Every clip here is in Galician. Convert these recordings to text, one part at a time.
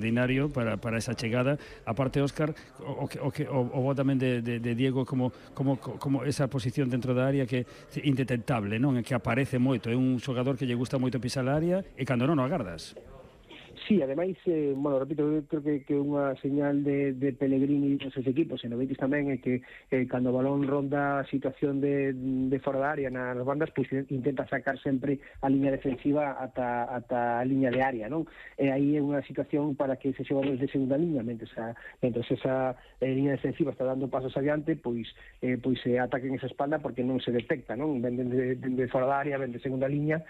extraordinario para esa chegada. Aparte, Óscar, o vos tamén de Diego como esa posición dentro da área que é indetectable, non? Que aparece moito, é un xogador que lle gusta moito pisar a área e cando non o agardas. Sí, ademais, bueno, repito, eu creo que unha señal de Pellegrini dos seus equipos, e no Betis tamén, é que cando o balón ronda a situación de fora da área nas bandas, pois intenta sacar sempre a liña defensiva ata a liña de área, non? E aí é unha situación para que ese xogadores de segunda liña, mentre esa liña defensiva está dando pasos adiante, pois se ataquen esa espalda porque non se detecta, non? Ven de fora da área, ven de segunda liña,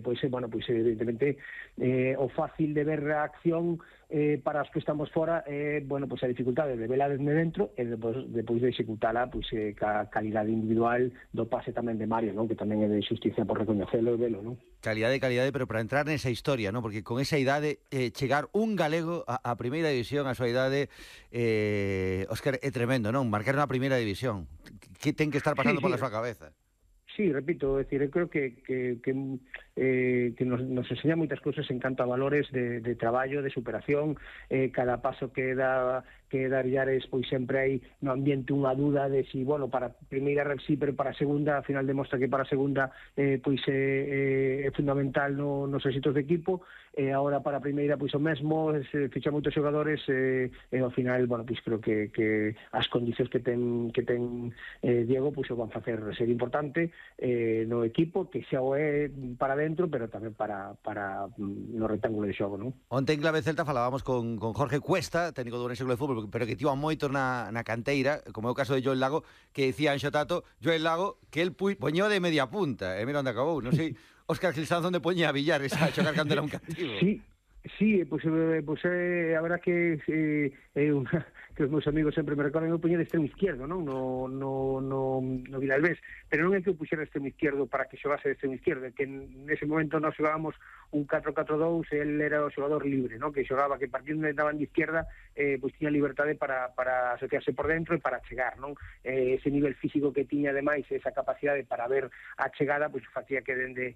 pois evidentemente o fácil de ver a acción para os que estamos fora, bueno, pois a dificultade de vela desde dentro e depois de executala, pois ca calidade individual do pase tamén de Mario, non? Que tamén é de xusticia por recoñecelo e velo, non? Calidade, pero para entrar nesa historia, non? Porque con esa idade chegar un galego a primeira división, a súa idade, Óscar, é tremendo, non? Marcar na primeira división, que ten que estar pasando pola súa cabeza? Sí, repito, é dicir, eu creo que nos enseña moitas cousas en canto a valores de traballo, de superación, cada paso que dá Villares, pois sempre hai no ambiente unha duda de si, bueno, para a primeira sí, pero para a segunda, ao final demostra que para a segunda pois é fundamental nos éxitos de equipo, e agora para a primeira pois o mesmo, se ficha moitos xogadores, e ao final, bueno, pois creo que as condicións que ten Diego, pois o van facer ser importante no equipo, que xa o é para dentro, pero tamén para no rectángulo de xogo, non? Onte en Clave Celta falábamos con Jorge Cuesta, técnico do Ourense Club de Fútbol, pero que tivo moito na canteira, como é o caso de Joel Lago, que decía Anxo Tato, Joel Lago, que el poñó de media punta, e mira onde acabou, non sei, Óscar Gilsanz onde poñía a Villares a xogar cando era un cativo. Sí, pois a verdad que que os meus amigos sempre me recordan, eu poñía de extremo izquierdo, non? No Vilalbés, pero non é que eu puxera de extremo izquierdo para que xogase de extremo izquierdo, é que nese momento nós xogábamos un 4-4-2, el era o xogador libre, non? Que xogaba, que partindo de daban de izquierda, pois tiña liberdade para asociarse por dentro e para chegar, non? Ese nivel físico que tiña, ademais, esa capacidade para ver a chegada, pois facía que dende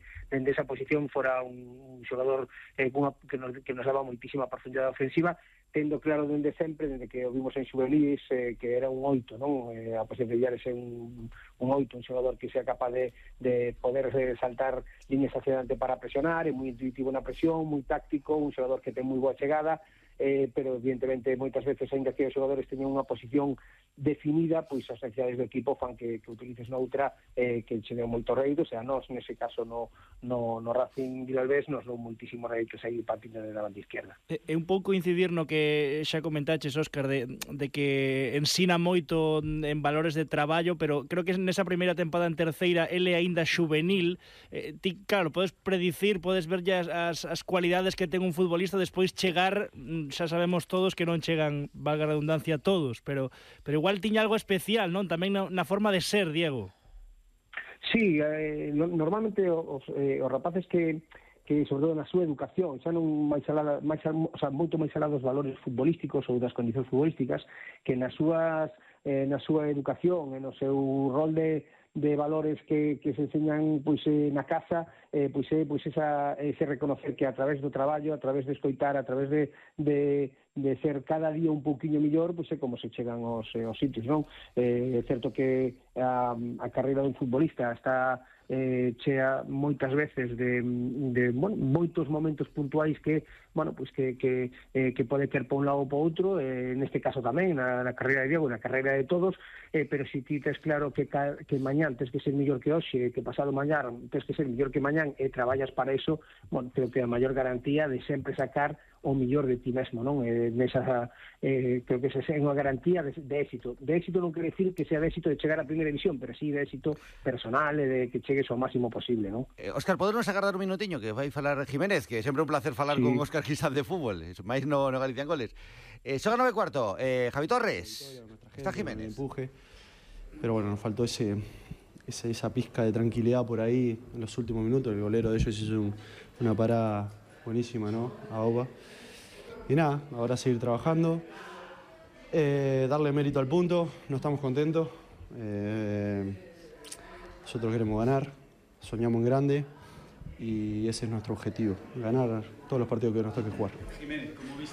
esa posición fora un xogador que nos daba moitísima profundidade ofensiva, tendo claro dende sempre, dende que o vimos en Xuvelis, que era un 8, non? A posición de Villares é un 8, un xogador que sea capaz de poder saltar líneas hacia adelante para presionar, é moi intuitivo na presión, moi táctico, un xogador que ten moi boa chegada, pero evidentemente moitas veces, ainda que os xogadores teñen unha posición definida, pois as necesidades do equipo fan que utilices noutra que che deu moito rédito, o sea, nós nese caso no Racing Vilalbés nos dou moitísimo rédito sair partindo de la banda izquierda. É un pouco incidir no que xa comentaches, Óscar, de que ensina moito en valores de traballo, pero creo que nesa primeira tempada en terceira ele aínda xuvenil, ti, claro, podes predicir, podes ver ya as cualidades que ten un futbolista, despois chegar, xa sabemos todos que non chegan, valga a redundancia, todos, pero igual tiña algo especial, non? Tamén na forma de ser, Diego. Sí, normalmente os rapaces que sobre todo na súa educación, xa non moito máis alá dos valores futbolísticos ou das condicións futbolísticas, que na súa educación e no seu rol de valores que se enseñan pois na casa, pois ese reconocer que a través do traballo, a través de escoitar, a través de ser cada día un pouquiño mellor, pois é como se chegan aos sitios, non? É certo que a carreira dun futbolista está chea moitas veces de moitos momentos puntuais que, bueno, pois que pode quer para un lado ou para outro, neste caso tamén na carreira de Diego, na carreira de todos, pero se ti tes claro que mañán tes que ser mellor que hoxe, que pasado mañán tes que ser mellor que mañán e traballas para eso, bueno, creo que a maior garantía de sempre sacar o mellor de ti mesmo, non? Creo que esa é unha garantía de éxito. De éxito non quere decir que sea de éxito de chegar a primeira división, pero sí de éxito personal e de que chegues ao máximo posible, non? Óscar, podernos agardar un minutiño que vai falar Jiménez, que é sempre un placer falar con Óscar Gilsanz de fútbol, máis no Galicia en Goles. Xoga 9:15, Javi Torres, está Jiménez. Empuje, pero bueno, nos faltó esa pizca de tranquilidad por ahí en los últimos minutos. El golero de ellos hizo una parada buenísima, ¿no? A Oba. Y nada, ahora seguir trabajando, darle mérito al punto, no estamos contentos. Nosotros queremos ganar, soñamos en grande y ese es nuestro objetivo, ganar todos los partidos que nos toque jugar. Jiménez, ¿cómo viste